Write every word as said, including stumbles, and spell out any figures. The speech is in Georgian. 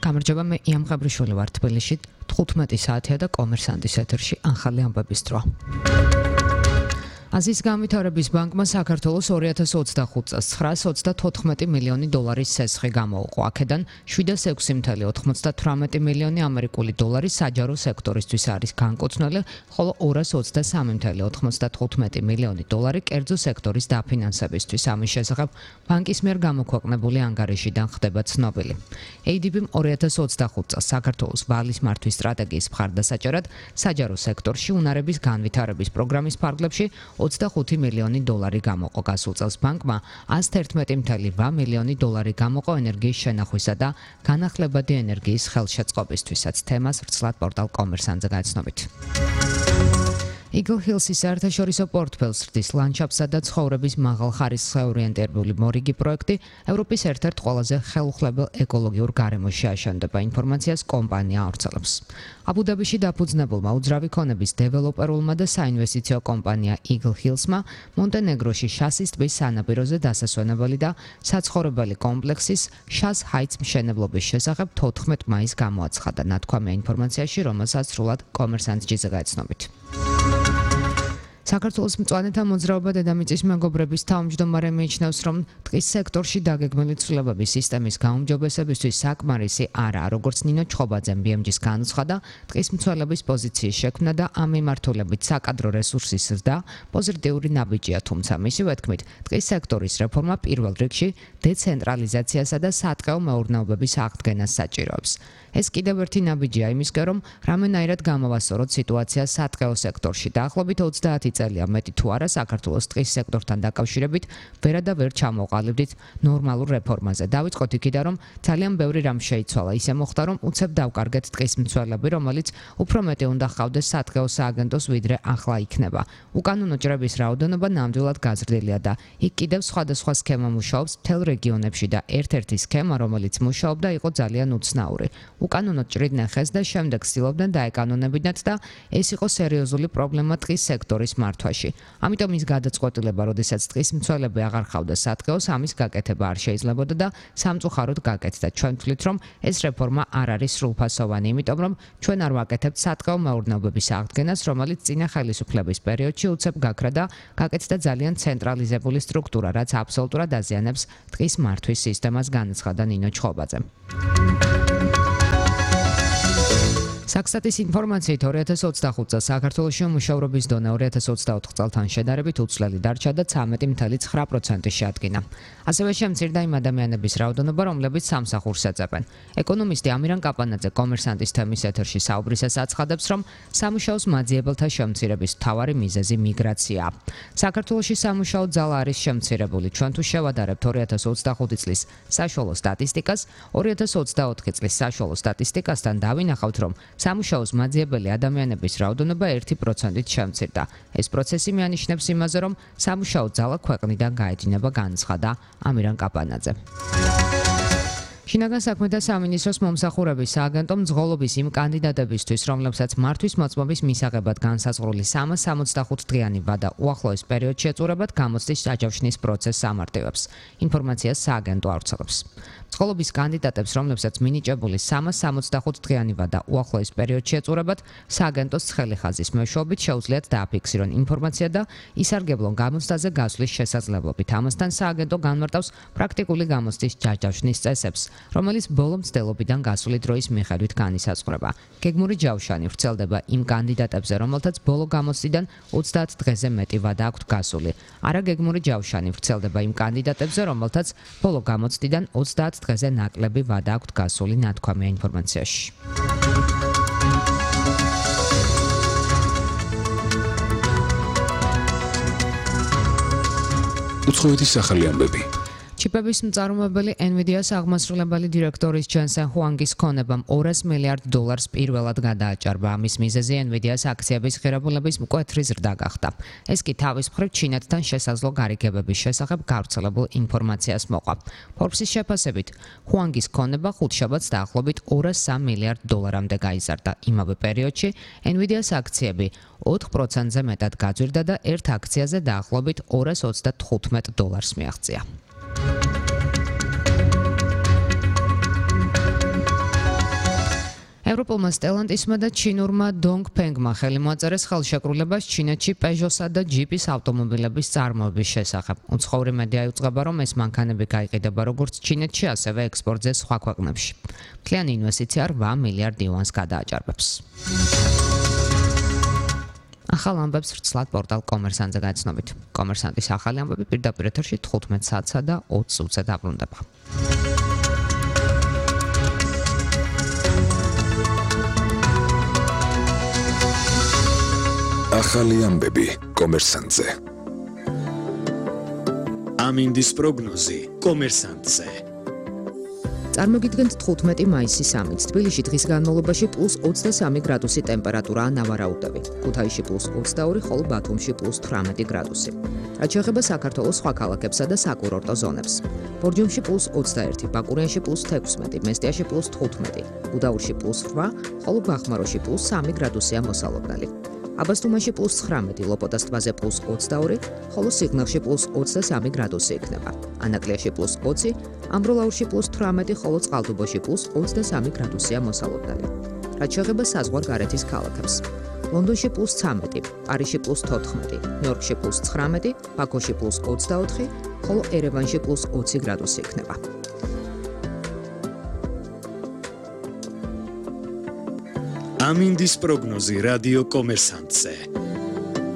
გამარჯობა, მე იამ ღაბრიშვილი ვარ თბილისში. თხუთმეტი საათია და კომერსანტის ეთერში ახალი ამბების დრო. აზიის განვითარების ბანკმა საქართველოს ორი ათას ოცდახუთ წელს ცხრაას ოცდათოთხმეტი მილიონი დოლარის სესხი გამოუყო. აქედან შვიდას ექვსი მცდარი ოცდათვრამეტი მილიონი ამერიკული დოლარი საჯარო სექტორისთვის არის განკუთვნილი, ხოლო ორას ოცდასამი მცდარი ოცდათხუთმეტი მილიონი დოლარი კერძო სექტორის დაფინანსებისთვის. ამის შესახებ ბანკის მიერ გამოქვეყნებული ანგარიშიდან ხდება ცნობილი. ეი დი ბი-მ ორი ათას ოცდახუთ წელს საქართველოს ვალის მართვის სტრატეგიის მხარდასაჭერად საჯარო სექტორში უნარების განვითარების პროგრამის ფარგლებში ოცდახუთი მილიონი დოლარი გამოყო. გასულ წელს ბანკმა ასი ერთმეტი მცდარი რვა მილიონი დოლარი გამოყო ენერგიის შენახვისა და განახლებადი ენერგიის ხელშეწყობისთვისაც. თემას ვრცლად პორტალ კომერსანტზე გაიცნობით. Eagle Hills-ის საერთაშორისო პორტფელს ზრდის ლანდშაფტსა და ცხოვრების მაღალ ხარისხს ორიენტირებული მორიგი პროექტი ევროპის ერთ-ერთ ყველაზე ხელუხლებელ ეკოლოგიურ გარემოში აშენდება. ინფორმაციას კომპანია ავრცელებს. აბუ-დაბიში დაფუძნებულმა უძრავი ქონების დეველოპერულმა და საინვესტიციო კომპანია Eagle Hills-მა მონტენეგროში შასის ტბის სანაპიროზე დასასვენებელი და საცხოვრებელი კომპლექსის შას ჰაიტს მშენებლობის შესახებ თოთხმეტ მაისს გამოაცხადა. ნათქვამია ინფორმაციაში, რომელსაც სრულად კომერსანტ.ჯი-ზე გაიცნობით. საქართველოს მწვანეთა მოძრაობა დედამიწის მეგობრების თავმჯდომარე მიიჩნევს, რომ ტყის სექტორში დაგეგმილი ცვლილებების სისტემის გაუმჯობესებისთვის საკმარისი არაა. როგორც ნინო ჩხობაძემ ბი ემ ჯი-ს განუცხადა, ტყის მცველების პოზიციის შექმნა და ამ მიმართულებით საკადრო რესურსის ზრდა პოზიტიური ნაბიჯია, თუმცა მისივე თქმით, ტყის სექტორის რეფორმა პირველ რიგში დეცენტრალიზაციასა და სატყეო მეურნეობების აღდგენას საჭიროებს. ეს კიდევ ერთი ნაბიჯია იმისკენ, რომ რამენაირად გამოვასწოროთ სიტუაცია სატყეო სექტორში. დაახლოებით ოცდაათი წელია მეტი თუ არა საქართველოს ტყის სექტორთან დაკავშირებით ვერა და ვერ ჩამოყალიბდით ნორმალურ რეფორმაზე. დავიწყოთ იქიდან, რომ ძალიან ბევრი რამ შეიცვალა. ისე მოხდა, რომ უცებ დავკარგეთ ტყის მცველები, რომელიც უფრო მეტი უნდა ჰყავდეს სატყეო სააგენტოს ვიდრე ახლა იქნება. უკანონო ჭრების რაოდენობა ნამდვილად გაზრდილია და იქ კიდევ სხვადასხვა სქემა მუშაობს მთელ რეგიონებში და ერთ-ერთი სქემა, რომელიც მუშაობდა, იყო ძალიან უცნაური. უკანონო ჭრიდნენ ხეს და შემდეგ ცდილობდნენ დაეკანონებინათ და ეს იყო სერიოზული პრობლემა ტყის სექტორის მართვაში. ამიტომ ის გადაწყვეტილება, როდესაც ტყის მცველები აღარ ჰყავდა სატყეოს, ამის გაკეთება არ შეიძლებოდა და სამწუხაროდ გაკეთდა. ჩვენ ვთვლით, რომ ეს რეფორმა არ არის სრულფასოვანი, იმიტომ რომ ჩვენ არ ვაკეთებთ სატყეო მეურნეობების აღდგენას, რომელიც წინა ხელისუფლების პერიოდში უცებ გაქრა და გაკეთდა ძალიან ცენტრალიზებული სტრუქტურა, რაც აბსოლუტურად აზიანებს ტყის მართვის სისტემას, განაცხადა ნინო ჩხობაძე. საქსტატის ინფორმაციით ორი ათას ოცდახუთ წელს საქართველოში მუშავრობის დონე ორი ათას ოცდაოთხ წელთან შედარებით უცვლელი დარჩა და ცხრამეტი მცდარი ცხრა პროცენტი შეადგინა. ასევე შემცირდა იმ ადამიანების რაოდენობა, რომლებიც სამსახურს ეწევენ. ეკონომისტი ამირან კაპანაძე კომერსანტის თემის ეთერში საუბრისას აცხადებს, რომ სამუშაოს მაძიებელთა შემცირების მთავარი მიზეზი მიგრაციაა. საქართველოში სამუშაო ძალა არის შემცირებული. ჩვენ თუ შევადარებთ ორი ათას ოცდახუთი წლის საშუალო სტატისტიკას, ორი ათას ოცდაოთხი წლის საშუალო სტატისტიკასთან დავინახავთ, რომ სამუშაოს მაძიებელი ადამიანების რაოდენობა ერთი პროცენტით შემცირდა. ეს პროცესი მიანიშნებს იმაზე, რომ სამუშაო ძალა ქვეყნიდან გაედინება, განაცხადა ამირან კაპანაძე. შინაგან საქმეთა სამინისტროს მომსახურების სააგენტო მძღოლობის იმ კანდიდატებისთვის, რომლებსაც მართვის მოწმობის მისაღებად განსაზღვრული სამას სამოცდახუთ დღიანი ვადა უახლოეს პერიოდში ეწურებათ, გამოცდის დაჯავშნის პროცესს ამარტივებს. ინფორმაციას სააგენტო ავრცელებს. მძღოლობის კანდიდატებს, რომლებსაც მინიჭებული სამას სამოცდახუთ დღიანი ვადა უახლოეს პერიოდში ეწურებათ, სააგენტოს ცხელი ხაზის მეშვეობით შეუძლიათ დააფიქსირონ ინფორმაცია და ისარგებლონ გამოცდაზე გასვლის შესაძლებლობით. ამასთან სააგენტო განმარტავს პრაქტიკული გამოცდის დაჯავშნის წესებს, რომელიც ბოლო მცდელობიდან გასული დროის მიხედვით განისაზღვრება. გეგმური ჯავშანი ვრცელდება იმ კანდიდატებზე, რომელთაც ბოლო გამოცდიდან ოცდაათ დღეზე მეტი ვადა აქვთ გასული. არაგეგმური ჯავშანი ვრცელდება იმ კანდიდატებზე, რომელთაც ბოლო გამოცდიდან ოცდაათ დღეზე ნაკლები ვადა აქვთ გასული, ნათქვამია ინფორმაციაში. უცხოეთის ახალი ამბები. ჩიპების მწარმოებელი NVIDIA-ს აღმასრულებელი დირექტორის ჯენსენ ჰუანგის ქონებამ ორას მილიარდ დოლარს პირველად გადააჭარბა. ამის მიზეზი NVIDIA-ს აქციების ღირებულების მკვეთრი ზრდა გახდა. ეს კი თავის მხრივ ჩინეთთან შესაძლო გარიგებების შესახებ გავრცელებულ ინფორმაციას მოყვა. Forbes-ის შეფასებით, ჰუანგის ქონება ხუთშაბათს დაახლოებით ორას სამი მილიარდ დოლარამდე გაიზარდა. იმავე პერიოდში NVIDIA-ს აქციები ოთხ პროცენტზე მეტად გაძვირდა და ერთ აქციაზე დაახლოებით ორას ოცდათხუთმეტ დოლარს მიაღწია. ევროპულმა სტელანტისმა და ჩინურმა დონგფენგმა ხელი მოაწერეს ხელშეკრულებას ჩინეთში პეჟოსა და ჯიპის ავტომობილების წარმოების შესახებ. უცხოური მედია იუწყება, რომ ეს მანქანები გაიყიდება როგორც ჩინეთში, ასევე ექსპორტზე სხვა ქვეყნებში. მთლიანი ინვესტიცია რვა მილიარდ იუანს გადააჭარბებს. ახალ ამბებს ვრცლად პორტალ კომერსანტზე გაიცნობით. კომერსანტის ახალი ამბები პირდაპირ ეთერში თხუთმეტ საათსა და ოცი წუთზე დაბრუნდება. ახალი ამბები კომერსანტზე. ამინდის პროგნოზი კომერსანტზე. წარმოგიდგენთ თხუთმეტი მაისის ამით. თბილისში დღის განმავლობაში პლუს ოცდასამი გრადუსი ტემპერატურაა ნავარაუდები. ქუთაისში პლუს ოცდაორი, ხოლო ბათუმში პლუს თვრამეტი გრადუსი. რაც შეეხება საქართველოს სხვა ქალაქებსა და საკურორტო ზონებს. ბორჯომში პლუს ოცდაერთი, ბაკურიანში პლუს თექვსმეტი, მესტიაში პლუს თხუთმეტი, გუდაურში პლუს რვა, ხოლო ბახმაროში პლუს სამი გრადუსია მოსალოდნელი. აბასთუმანში პლუს ცხრამეტი, ლოპოტას ტბაზე პლუს ოცდაორი, ხოლო სიღნაღში პლუს ოცდასამი გრადუსი იქნება. ანაკლიაში პლუს ოცი, ამბროლაურში პლუს თვრამეტი, ხოლო წყალტუბოში პლუს ოცდასამი გრადუსია მოსალოდნელი. რაც შეეხება საზღვარგარეთის ქალაქებს. ლონდონში პლუს ცამეტი, პარიზში პლუს თოთხმეტი, ნიუ-იორკში პლუს ცხრამეტი, ბაქოში პლუს ოცდაოთხი, ხოლო ერევანში პლუს ოცი გრადუსი იქნება. ამინდის პროგნოზი რადიო კომერსანტზე.